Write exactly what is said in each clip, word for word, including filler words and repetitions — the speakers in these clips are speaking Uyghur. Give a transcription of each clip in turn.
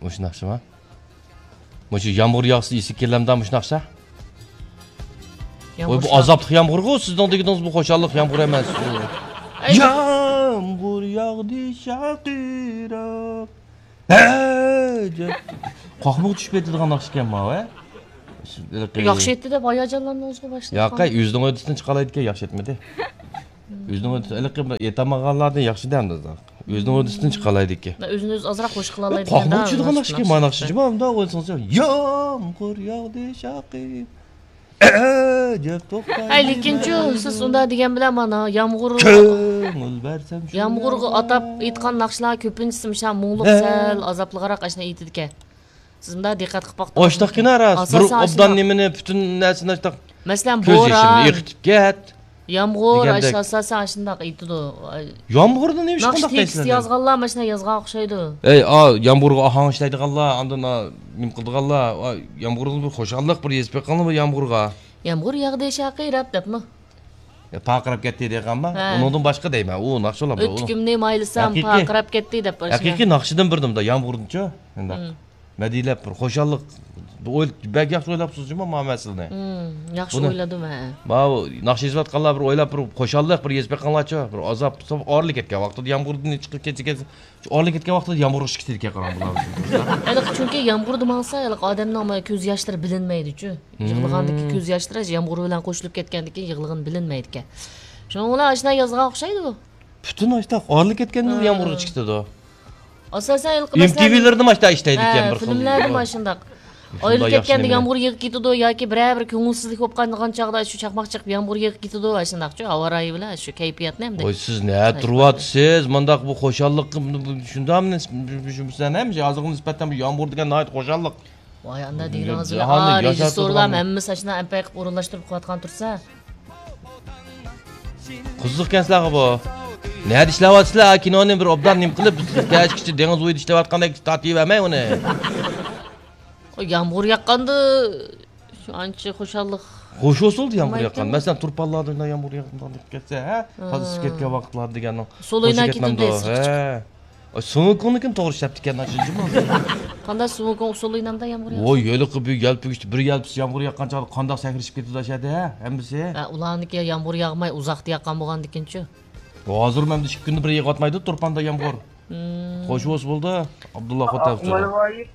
مۇشۇ ناخشىما؟ مۇشۇ يامغۇر ياغسا ئېسىگە كېلەمدا مۇشۇ ناخشا؟ ۋاي، بۇ ئازابلىق يامغۇرغۇ سىزنىڭ دېگىنىڭىز، بۇ خۇشاللىق يامغۇر ئەمەس. يامغۇر ياغدى شارقىراپ. ھە، جا-، قاقمىقى چۈشۈپ كېتىدىغان ناخشا ئىكەن ماۋۇ، ھە؟ ياخشى ئېيتتى دەپ ھاياجانلاندىڭىزغۇ باشلىق. ياقەي، ئۆزىنىڭ ھۆددىسىدىن چىقالايدىكەن، ياخشى ئېيتمىدى. ئۆزىنىڭ ھۆددىسى، ھېلىقى بىر ئېيتالمىغانلارنى ياخشى دەمدى. ئۆزىنىڭ ھۆددىسىدىن چىقالايدىكەن. ئۆزىنى ئۆزى ئازراق خوش قىلالايدىكەن. قاقمىقى چۈشىدىغان ناخشا ئىكەن، مانا ناخشا جۇما، ئۇنداق ئويلىسىڭىز، يامغۇر ياغدى شارقىراپ. ئەجەب توختايدۇ. ھەي، لېكىنچۇ، سىز ئۇنداق دېگەن بىلەن مانا يامغۇر، كۆڭۈل بەرسەم شۇ يامغۇرغا ئاتاپ ئېيتقان ناخشىلار كۆپىنچىسى مۇشۇ مۇڭلۇق، سەل ئازابلىقراق ئاشۇنا ئېيتىدىكەن. سىز مۇنداق دىققەت قىلىپ باقتىڭىزمۇ؟ ئاشتاقكىنا راست. بىر ئاساسەن ئوبدان ئاشۇنداق. نېمىنى، پۈتۈن نەرسىنى ئاشتاق مەسىلەن، كۆز يېشىمنى بوران، ئېقىتىپ كەت يامغۇر، دېگەندەك. ئاشۇ ئاساسەن ئاشۇنداق ئېيتىدۇ. يامغۇرنى نېمە ئىش ناخشا قانداق تېكىست دەيسىلەر؟ يازغانلار ماشۇنداق يازغان ئوخشايدۇ. ئەي، ئا، يامغۇرغا ئاھاڭ ئىشلەيدىغانلار، ئاندىن، ئا، نېمە قىلىدىغانلار، ئا، يامغۇرغا بىر خۇشاللىق، بىر يېزىپ بېقىڭلار بۇ يامغۇرغا. يامغۇر ياغدى شارقىراپ دەپمۇ؟ يا، پارقىراپ كەتتى دېگەنما؟ ھە. ئۇنىڭدىن باشقا دەيمەن، ئۇ ناخشا بولامدۇ ئۇ؟ ئۆتۈكۈمنى مايلىسام، ھەقىقىي، پارقىراپ كەتتى دەپ باشلىغان. ھەقىقىي ناخشىدىن بىردىمدا يامغۇردىنچۇ؟ شۇنداق. مم. مەدھىيلەپ بىر خۇشاللىق، ئوي-، بەك ياخشى ئويلاپسىز جۇمۇ ماۋۇ مەسىلىنى. مم، ياخشى بۇنى ئويلىدىم، ھە. ماۋۇ ناخشا يېزىۋاتقانلار بىر ئويلاپ، بىر خۇشاللىق، بىر يېزىپ بېقىڭلارچۇ، بىر ئازاب، ئارىلى كەتكەن ۋاقتىدا يامغۇردىن چىقىپ كەتسە، كەتسە، شۇ ئارىلى كەتكەن ۋاقتىدا يامغۇر چىقىپ كېتىدىكەن، قاراڭ بۇلار. ھېلىقى چۈنكى يامغۇردا ماڭسا، ھېلىقى ئادەمنىڭ مانا كۆز ياشلىرى بىلىنمەيدۇچۇ. مم. يىغلىغاندىكى كۆز ياشلىرى يامغۇر بىلەن قوشۇلۇپ كەتكەندىكىن يىغلىغىنى بىلىنمەيدىكەن. شۇنىڭ بىلەن ئاشۇنداق يازغان ئوخشايدۇ بۇ. پۈتۈن ئاشتاق ئارىلى كەتكەندىن ھە. يامغۇر چىقىدۇ. ئاساسەن، ھېلىقى مەسىلەن، ئېم تى ۋىلىرىدىمۇ ئاشتا ئىشلەيدىكەن ھە، بىر خىل. فىلىملەردىمۇ ئاشۇنداق. ئاشۇنداق ئايرىلىپ ياخشى كەتكەندە نېمىنى؟ يامغۇر يېغىپ كېتىدۇ ياكى بىرەر بىر كۆڭۈلسىزلىك بولۇپ قالغان چاغدا شۇ چاقماق چېقىپ يامغۇر يېغىپ كېتىدۇ، ئاشۇنداقچۇ، ھاۋا رايى بىلەن شۇ كەيپىياتنى ئەمدى. ۋاي، سىز نە تۇرۇۋاتىسىز؟ مۇنداق بۇ خۇشاللىق، شۇنداقمۇ نىس-، شۇ، شۇ، سەن ھەم ھازىرغا نىسبەتەن بۇ يامغۇر دېگەن ناھايىتى خۇشاللىق. ۋاي، ئاندا دېگىنىڭىز بىلەن، جاھاننى ئا، ياشارتىدىغان رېژىسسورلار ھەممىسى ئاشۇنداق ئەمپەي قىلىپ ئورۇنلاشتۇرۇپ قىلىۋاتقان تۇرسا. قىزىقكەن سىلەرگە بۇ. نەدە ئىشلەۋاتىسىلەر؟ ھا، كىنونى بىر ئوبدان نېمە قىلىپ، كەچكىچە دېڭىز بويىدا ئىشلەۋاتقاندەك تارتىۋەرمەي ئۇنى. ئۇ يامغۇر ياغقاندا شۇ ئانچە خۇشاللىق. خوش بولسىدى يامغۇر ياغقان. مەسىلەن، تۇرپانلاردا يامغۇر ياغقان دەپ كەتسە، ھە؟ تازا ئىسسىپ كەتكەن ۋاقىتلار دېگەننىڭ. سولىنا كېتىدۇ دەيسىز. ھە. ئاي، سۇڭۇكۇڭنىڭكىنى توغرا ئىشلەپتىكەن، شۇنچىمۇ. قانداق سۇڭۇكۇڭ ئۇسسۇلىنامدا يامغۇر ياغسا؟ ۋوي، ھېلىقى بىر يەلپۈگۈچتە بىر يەلپۈسى يامغۇر ياغقان چاغدا قانداق سەكرىشىپ كېتىدۇ ئاشۇ يەردە، ھە؟ ھەممىسى. ھە، ئۇلارنىڭكى يامغۇر ياغماي ئۇزاقتا ياغقان بولغاندىكىنچۇ؟ ھازىر مەندە ئىككى كۈندە بىر يېغىۋاتمايدۇ تۇرپاندا يامغۇر. مم. خوش بولسا بولدى، ئابدۇللا خوتەن ئۇچۇرى.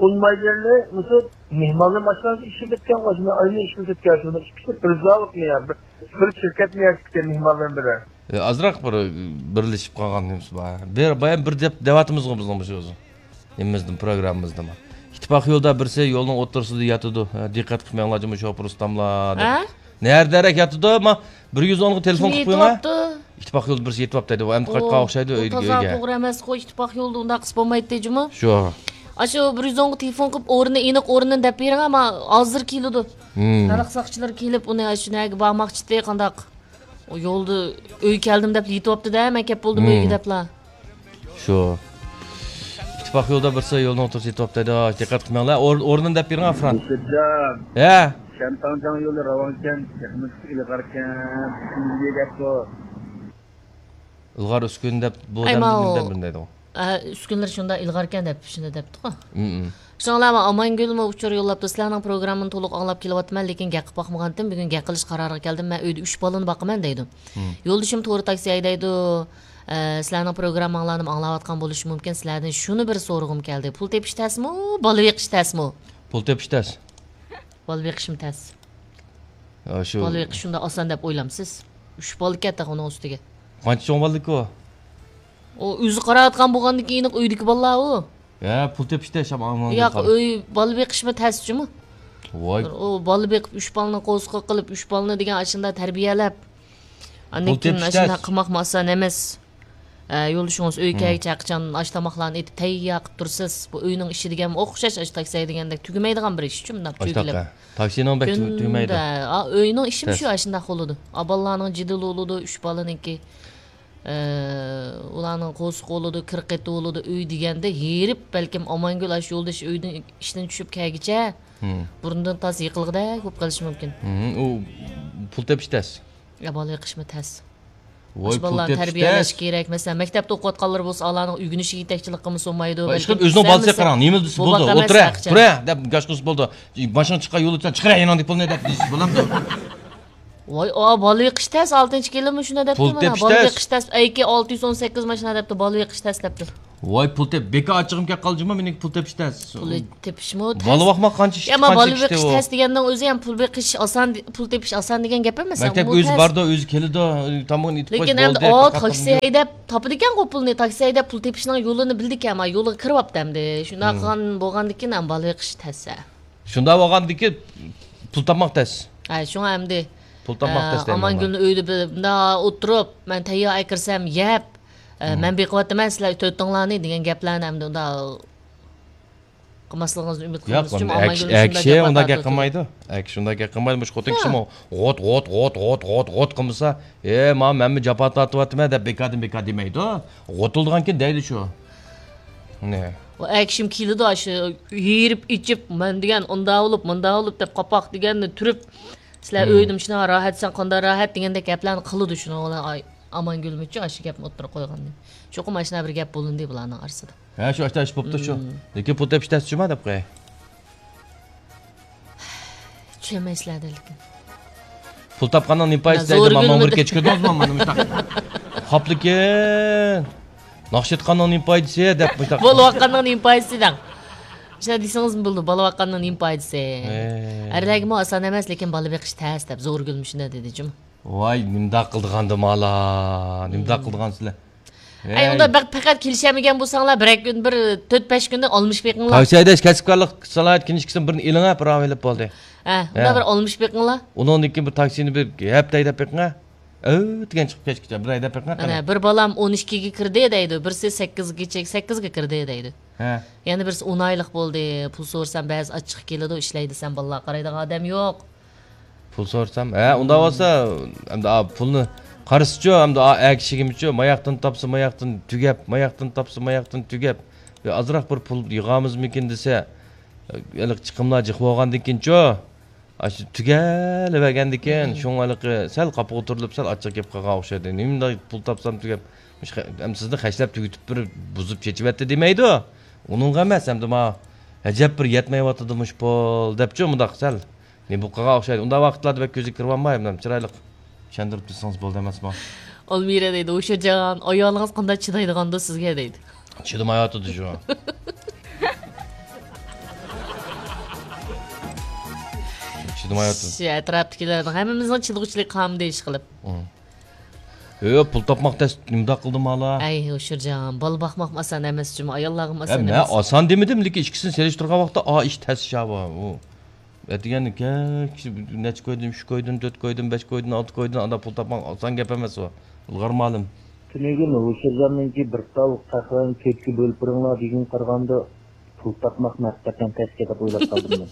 ئۇنمايدىغان مۇشۇ مېھمانلار ماشىنىسى ئىشلىتىدىكەن، ماشىنا ئاينى ئىشلىتىدىكەن، شۇنى ئىككىسى بىر زاۋۇتنى يا، بىر، بىر شىركەتنى يا، مېھمانلار بىلەن. ئە، ئازراق بىر بىرلىشىپ قالغان نېمىسى بار. بىر، بايام بىر دەپ دەۋاتىمىزغۇ بىزنىڭ مۇشۇ نېمىمىزدىن، پروگراممىمىزدىمۇ. ئىتتىپاق يولدا بىرسى يولنىڭ ئوتتۇرىسىدا ياتىدۇ. ھە، دىققەت قىلماڭلار جۇمۇ شوپۇر ئۇستاملار دەپ. ھە؟ نەدە دەرەك ياتىدۇ؟ ما، بىر يۈز ئونغا تېلېفون قىلىپ قويۇڭ، ھە؟ ئىتتىپاق يولدا بىرسى يېتىۋاپتۇ دەيدۇ. ئەمدى قايتقان ئوخشايدۇ ئۆيگە. تازا توغرا ئەمەسقۇ، ئىتتىپاق يولدا ئۇنداق قىلسا بولمايتتى جۇمۇ. شۇ. ئاشۇ بىر يۈز ئونغا تېلېفون قىلىپ ئورنىنى، ئېنىق ئورنىنى دەپ بېرىڭ، ئەمما ھازىر كېلىدۇ. ھىم. خەلق ساقچىلىرى كېلىپ ئۇنى ئاشۇ نەگە بارماقچىتى، قانداق؟ ئۇ يولدا ئۆيگە كەلدىم دەپ يېتىۋاپتۇ-دە، مەن كەپ بولدۇم ئۆيگە دەپلا. شۇ. ئىتتىپاق يولدا بىرسى يولنىڭ ئوتتۇرىسىدا يېتىۋاپتۇ دەيدۇ. دىققەت قىلماڭلار. ئور-، ئورنىنى دەپ بېرىڭ، ئافران. ھە. شەنتاڭجاڭ يولى راۋانكەن، تېخىمۇ ئىلغاركەن، ئۈسكۈندىگە كەپتۇ. ئىلغار ئۈسكۈن دەپ بۇ ئەي، دەمدە ماۋۇ. بىر دەم بىر دەيدىغۇ. ئە، ئۈسكۈنلەر شۇنداق ئىلغاركەن دەپ شۇنداق دەپتىغۇ. مم. شۇڭلارمۇ ئامانگۈلمۇ ئۇچۇر يوللاپتۇ، سىلەرنىڭ پروگراممىنى تولۇق ئاڭلاپ كېلىۋاتىمەن، لېكىن گەپ قىلىپ باقمىغانتىم، بۈگۈن گەپ قىلىش قارارىغا كەلدىم، مەن ئۆيدە ئۈچ بالىنى باقىمەن دەيدۇ. مم. يولدىشىم تورا تاكسى ھەيدەيدۇ، ئە، سىلەرنىڭ پروگرامماڭلارنىمۇ ئاڭلاۋاتقان بولۇشى مۇمكىن، سىلەردىن شۇنى بىر سورىغۇم كەلدى، پۇل تېپىش تەسمۇ، بالا بېقىش تەسمۇ؟ پۇل تېپىش تەس. بالا بېقىشمۇ تەس. ھە، شۇ. بالا بېقىش شۇنداق ئاسان دەپ ئويلامسىز؟ ئۈچ بالىكەن تېخى ئۇنىڭ ئۈستىگە. قانچە چوڭ بالىكى ئۇ؟ ئۇ ئۆزى قاراۋاتقان بولغاندىن كېيىن ئۆيدىكى بالىلار ئۇ. ھە، پۇل تېپىشتا شام ئامان ياق، قارا. ئۆي بالا بېقىشمۇ تەس جۇمۇ. ۋاي. ئۇ بالا بېقىپ، ئۈچ بالىنى قورسىقىغا قىلىپ، ئۈچ بالىنى دېگەن ئاشۇنداق تەربىيەلەپ، ئاندىن پۇل كېيىن تېپىش ئاشۇنداق تەس. قىلماقمۇ ئاسان ئەمەس. ئە، يولدىشىڭىز ئۆيگە مم. كەلگىچە قاچان ئاش تاماقلارنى ئېتىپ تەييار قىلىپ تۇرىسىز. بۇ ئۆينىڭ ئىشى دېگەنمۇ ئوخشاش، ئاشۇ تاكسى دېگەندەك تۈگىمەيدىغان بىر ئىش شۇ، مۇنداق ئاشتاق، چۆكىلىپ. ھە. تاكسىنىڭ بەك تۈ-، تۈگىمەيدۇ. كۈندە، ئا، ئۆينىڭ ئىشىمۇ شۇ، تەس. ئاشۇنداق بولىدۇ. ئا، بالىلارنىڭ جېدىلى بولىدۇ، ئۈچ بالىنىڭكى. ئە، ئۇلارنىڭ قورسىقى بولىدۇ، كىر قېتى بولىدۇ، ئۆي دېگەندە ھېرىپ، بەلكىم ئامانگۈل ئاشۇ يولدىشى ئۆيدىن، ئىشتىن چۈشۈپ كەلگىچە مم. بۇرنىدىن تاس يىقىلغۇدەك بولۇپ قېلىشى مۇمكىن. مم، ئۇ پۇل تېپىش تەس. يا بالا بېقىشمۇ تەس. ۋاي، پۇل تېپىش تەس. بالىلارنى تەربىيەلەشكە كېرەك. مەسىلەن، مەكتەپتە ئوقۇۋاتقانلار بولسا، ئۇلارنىڭ ئۆگىنىشىگە يېتەكچىلىك قىلمىسا بولمايدۇ. ۋاي، بەلكىم ئىشقىلىپ ئۆزىنىڭ بالىسى قاراڭ، نېمە دېسە بولدى، ئولتۇرە، تۇرە دەپ گاش قىلسا بولدى. ماشىنا چىققان يولدا سەن چىقىرە يېنىڭدىكى پۇلنى دەپ دېسە بولامدۇ؟ ۋاي، ئا، بالا بېقىش تەس، ئالتىنچى كېلىمۇ شۇنداق دەپتۇ. پۇل تېپىش تەس. ئەيكى، ئالتە يۈز ئون سەككىز ماشىنا دەپتۇ، بالا بېقىش تەس دەپتۇ. ۋاي، پۇل تېپ، بېكار ئاچچىقىم كەپ قالدى جۇما، مېنىڭكى پۇل تېپىش تەس. پۇل تېپىشمۇ تەس. بالا باقماق قانچە ئىش، يا، ئەمما بالا بېقىش تەس دېگەننىڭ ئۆزى ھەم پۇل بېقىش ئاسان، پۇل تېپىش ئاسان دېگەن گەپ ئەمەس. مەكتەپكە ئۆزى بارىدۇ، ئۆزى كېلىدۇ، تامىقىنى ئېتىپ قويۇپ بولدى. لېكىن ئەمدى ئۇ تاكسى ھەيدەپ تاپىدىكەنغۇ پۇلنى، تاكسى ھەيدەپ پۇل تېپىشنىڭ يولىنى بىلىدىكەن، ما يولىغا كىرىۋاپتۇ ئەمدى. شۇنداق قىلغان بولغاندىكىن ھەم بالا بېقىش تەس. شۇنداق بولغاندىكىن پۇل تاپماق تەس. ھە، شۇڭا ئەمدى، پۇل تاپماق ئە، تەس دەيمەن ئامانگۈلنى ئۆيدە بىر مۇنداق ئولتۇرۇپ، مەن تەييار ئەكىرسەم يەپ، ئە، مەن بېقىۋاتىمەن، سىلەر تۆتۈڭلارنى دېگەن گەپلەرنى ئەمدى ئۇنداق قىلماسلىقىڭىزنى ئۈمىد قىلىمىز. ياق، ئەكشى ئۇنداق گەپ قىلمايدۇ. ئەكشى ئۇنداق گەپ قىلمايدۇ. مۇشۇ خوتۇن كىشىمۇ غوت، غوت، غوت، غوت، غوت قىلمىسا، ئە، ما، مەنمۇ جاپا تارتىۋاتىمەن دەپ بىكاردىن بىكار دېمەيدۇ. غوتۇلدىغانكىن دەيدۇ شۇ. نە. ئۇ ئەكشىم كېلىدۇ، ئاشۇ يېرىپ ئېچىپ، مەن دېگەن ئۇنداق بولۇپ، مۇنداق بولۇپ دەپ قاپاق دېگەننى تۈرۈپ، سىلەر ئۆيدە مۇشۇنداق راھەت، سەن قانداق راھەت دېگەندەك گەپلەرنى قىلىدۇ شۇنىڭ بىلەن. ئامانگۈلمۇچۇ ئاشۇ گەپنى ئوتتۇرىغا قويغاندىن. چوقۇم ئاشۇنداق بىر گەپ بولۇندى بۇلارنىڭ ئارىسىدا. ھە، شۇ ئاشتا ئىش بوپتۇ شۇ. لېكىن پۇل تېپىش تەس جۇما دەپ قوياي. چۈشەنمەيسىلەر لېكىن. پۇل تاپقاننىڭ نېمە پايدىسى دەيدۇ، مانا بىر كەچ كۆردىڭىزمۇ، مانا مۇشۇنداق. خاپلىكىن. ناخشا ئېيتقاننىڭ نېمە پايدىسى دەپ مۇشۇنداق. بولۇۋاتقاننىڭ نېمە پايدىسى دەڭ. شۇنداق دېسىڭىزمۇ بولىدۇ، بولۇۋاتقاننىڭ نېمە پايدىسى. ئەرلەرگىمۇ ئاسان ئەمەس، لېكىن بالا بېقىش تەس دەپ زورگۈل مۇشۇنداق دېدى جۇمۇ. ۋاي، نېمىنداق قىلىدىغاندۇ مالا، نېمىنداق قىلىدىغان سىلەر. ئەي، ئۇنداق بەك پەقەت كېلىشەلمىگەن بولساڭلار، بىرەر كۈن، بىر تۆت-بەش كۈندە ئالمىشىپ بېقىڭلار. تاكسى ھەيدەش كەسىپكارلىق سالاھىيەت كىنىشكىسىنى بىرنى ئېلىڭ، ھە، بىراۋ ئېلىپ بولدى. ھە، ئۇنداق بىر ئالمىشىپ بېقىڭلار. ئۇنىڭدىن كېيىن بىر تاكسىنى بىر ھەپتە ھەيدەپ بېقىڭ، ھە. ئەۋ دېگەن چىقىپ كەچكىچە بىر ھەيدەپ بېقىڭ، قېنى. ئەنە، بىر بالام ئون ئىككىگە كىردى دەيدۇ، بىرسى سەككىزگىچە، سەككىزگە كىردى دەيدۇ. ھە. يەنە بىرسى ئون ئايلىق بولدى، پۇل سورىسام بەزى ئاچچىقى كېلىدۇ، ئىشلەي دېسەم بالىلارغا قارايدىغان ئادەم يوق. پۇل سورىسام، ھە، ئۇنداق بولسا، ئەمدى ئا، پۇلنى قارىسىچۇ، ئەمدى ئا، ئەر كىشىگىمۇچۇ، ماياقتىن تاپسا ماياقتىن تۈگەپ، ماياقتىن تاپسا ماياقتىن تۈگەپ، بىر ئازراق بىر پۇل يىغامىزمىكىن دېسە، ھېلىقى چىقىملار جىق بولغاندىن كېيىنچۇ، ئاشۇ تۈگەلىۋەرگەندىكىن، شۇڭا ھېلىقى سەل قاپىغا تۇرۇلۇپ، سەل ئاچچىق گەپ قىلغان ئوخشايدۇ. نېمىنداق پۇل تاپسام تۈگەپ، مۇشۇ خە-، ئەمدى سىزنى خەجلەپ تۈگىتىپ بىر بۇزۇپ چېچىۋەتتى دېمەيدۇ. ئۇنىڭغا ئەمەس، ئەمدى ما، ئەجەب بىر يەتمەيۋاتىدۇ مۇشۇ پۇل دەپچۇ، مۇنداق سەل. نېمە بولۇپ قالغان ئوخشايدۇ. ئۇنداق ۋاقىتلاردا بەك كۆزگە كىرىۋالماي، ھەمدە چىرايلىق چۈشەندۈرۈپ تۇرسىڭىز بولدى ئەمەسمۇ؟ ئالمىرە دەيدۇ، ھوشۇرجان، ئايالىڭىز قانداق چىدايدىغاندۇ سىزگە دەيدۇ. چىدىمايۋاتىدۇ شۇ. چىدىمايۋاتىدۇ. شۇ ئەتراپتىكىلەرنىڭ ھەممىمىزنىڭ چىدىغۇچىلىقى قالمىدى ئىشقىلىپ. يو، پۇل تاپماق تەس، نېمىنداق قىلدىم ھالا؟ ئەي، ھوشۇرجان، بالا باقماقمۇ ئاسان ئەمەس جۇمۇ، ئاياللارغىمۇ ئاسان ئەمەس. مەن ئاسان دېمىدىم، لېكىن ئىككىسىنى سېلىشتۇرغان ۋاقىتتا، ئا، ئىش تەس شاۋا، ئۇ. ئەتىگەن كەچ نەچچە كويدىن، ئۈچ كويدىن، تۆت كويدىن، بەش كويدىن، ئالتە كويدىن، ئانداق پۇل تاپماق ئاسان گەپ ئەمەس ئۇ. ئىلغار مالىم. تۈنۈگۈن ھوشۇرجاننىڭكى بىر تال قەھۋەنى تۆتكە بۆلۈپ بېرىڭلار دېگىنىگە قارىغاندا، پۇل تاپماق ھەقىقەتەن تەسكە دەپ ئويلاپ قالدىم مەن.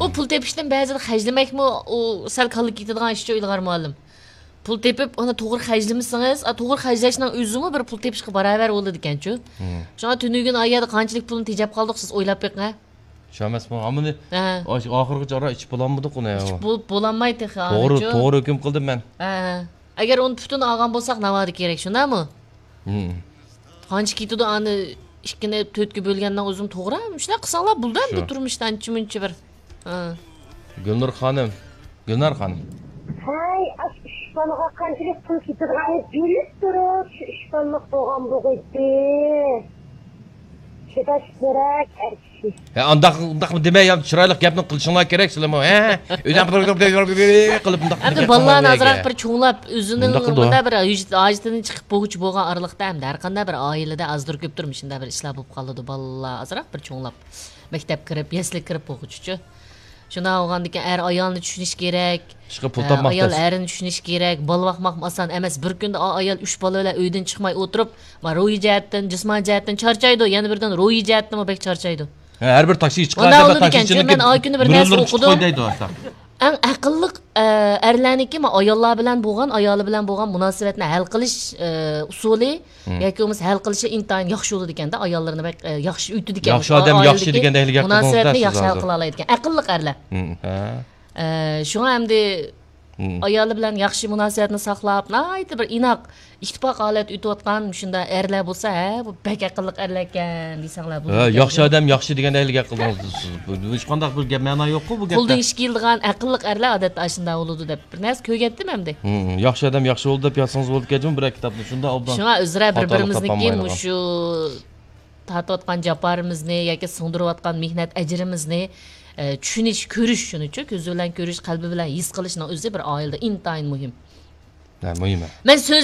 ئۇ پۇل تېپىشتىن بەزىدە خەجلىمەكمۇ، ئۇ سەل كاللا كېتىدىغان ئىشچۇ ئىلغار مۇئەللىم. پۇل تېپىپ، ئۇنى توغرا خەجلىمىسىڭىز، ئا، توغرا خەجلەشنىڭ ئۆزىمۇ بىر پۇل تېپىشقا باراۋەر بولىدىكەنچۇ. شۇڭا تۈنۈگۈن ئا يەردە قانچىلىك پۇلنى تېجەپ قالدۇق، سىز ئويلاپ بېقىڭ، ھە؟ شۇ ئەمەسمۇ؟ ھامىنى ئاشۇ ئاخىرغىچە ئاران ئىچىپ بولالمىدۇق ئۇنى. ئىچىپ بول-، بولالماي تېخى توغرا، ھازىرچۇ. توغرا ھۆكۈم قىلدىم مەن. ھە، ھە. ئەگەر ئۇنى پۈتۈن ئالغان بولساق، ناۋادا كېرەك، شۇنداقمۇ؟ قانچە كېتىدۇ ئانى ئىككىنى تۆتكە بۆلگەننىڭ ئۆزىمۇ توغرا. شۇنداق قىلساڭلار بولىدۇ ئەمدى شۇ. تۇرمۇشتا ئانچە-مۇنچە بىر. ھە. گۈلنۇر خانىم، گۈلنار خانىم. ھەي، ئاشۇ ئۈچ بالىغا قانچىلىك پۇل كېتىدىغاننى بىلىپ تۇرۇپ، شۇ ئۈچ بالىلىق بولغان بولغىيتتى. چىداش كېرەك، ئەر كىشى. ھە، ئانداق، ئانداقمۇ دېمەي، يا، چىرايلىق گەپنى قىلىشىڭلار كېرەك، سىلەرمۇ، ھە؟ ئۆزۈڭ قىلىپ، قىلىپ، قىلىپ، قىلىپ، قىلىپ، مۇنداق ئەمدى گەپ بالىلارنى قىلماڭلار ئازراق ئەگە. بىر چوڭلاپ، ئۆزىنىڭ مۇنداق قىلىدۇ. مۇنداق بىر ھاج-، ھاجىتىدىن چىقىپ بولغۇچى بولغان ئارىلىقتا، ئەمدى ھەر قانداق بىر ئائىلىدە ئازدۇر كۆپتۇر مۇشۇنداق بىر ئىشلار بولۇپ قالىدۇ. بالىلار ئازراق بىر چوڭلاپ، مەكتەپكە كىرىپ، يەسلىگە كىرىپ بولغۇچىچۇ. شۇنداق بولغاندىكىن ئەر ئايالنى چۈشىنىش كېرەك. ئىشقىلىپ پۇل ئە، تاپماق ئايال تەس. ئەرنى چۈشىنىش كېرەك. بالا باقماقمۇ ئاسان ئەمەس. بىر كۈندە ئا-، ئايال ئۈچ بالا بىلەن ئۆيدىن چىقماي ئولتۇرۇپ، ما، روھىي جەھەتتىن، جىسمانىي جەھەتتەن چارچايدۇ. يەنە بىردىن روھىي جەھەتتىنمۇ بەك چارچايدۇ. ھە، ھەر بىر تاكسىگە چىققان مۇنداق ئادەمدە بولىدىكەن، تاكسىچىنىڭكى مەن ئاي كۈنى بىر نەرسە ئۆرۈلدۈرۈپ چىقىپ ئوقۇدۇم. قوي دەيدۇ ھەتتا. ئەڭ ئەقىللىق، ئە، ئەرلەرنىڭكى، ما، ئاياللار بىلەن بولغان، ئايالى بىلەن بولغان مۇناسىۋەتنى ھەل قىلىش، ئە، ئۇسۇلى ياكى بولمىسا ھەل قىلىشى ئىنتايىن ياخشى بولىدىكەن-دە، ئاياللىرىنى بەك، ئە، ياخشى ئۆتىدىكەن. ياخشى ئادەم، ياخشى دېگەندەك ھېلىگە مۇناسىۋەتنى ياخشى ھەل قىلالايدىكەن. ئەقىللىق ئەرلەر. ھە. ئە، شۇڭا ئەمدى مم. ئايالى بىلەن ياخشى مۇناسىۋەتنى ساقلاپ، ناھايىتى بىر ئىناق، ئىتتىپاق ھالەتتە ئۆتۈۋاتقان مۇشۇنداق ئەرلەر بولسا، ھە، بۇ بەك ئەقىللىق ئەرلەركەن دېسەڭلار بولىدۇ. ھە، ياخشى ئادەم ياخشى دېگەن ئەرلەرگە قىلدىڭىز سىز. بۇ، بۇ ھېچقانداق بىر گەپ، مەنا يوققۇ بۇ گەپتە. قولدىن ئىش كېلىدىغان ئەقىللىق ئەرلەر ئادەتتە ئاشۇنداق بولىدۇ دەپ بىر نەرسە كۆرگەنتىم ئەمدى. مم، ياخشى ئادەم ياخشى بولدى دەپ يازسىڭىز بولىدىكەن بىرەر كىتابنى. شۇنداق ئوبدان. شۇڭا ئۆزرە بىر خاتالىق بىرىمىزنىڭكى تاپالمايدىغان. مۇشۇ تارتىۋاتقان جاپارىمىزنى ياكى سىڭدۈرۈۋاتقان مېھنەت ئەجرىمىزنى، ئە، چۈشىنىش، كۆرۈش، شۇنىچۇ كۆزى بىلەن كۆرۈش، قەلبى بىلەن ھېس قىلىشنىڭ ئۆزى بىر ئائىلىدە ئىنتايىن مۇھىم. ھە، مۇھىم. مەن سۆز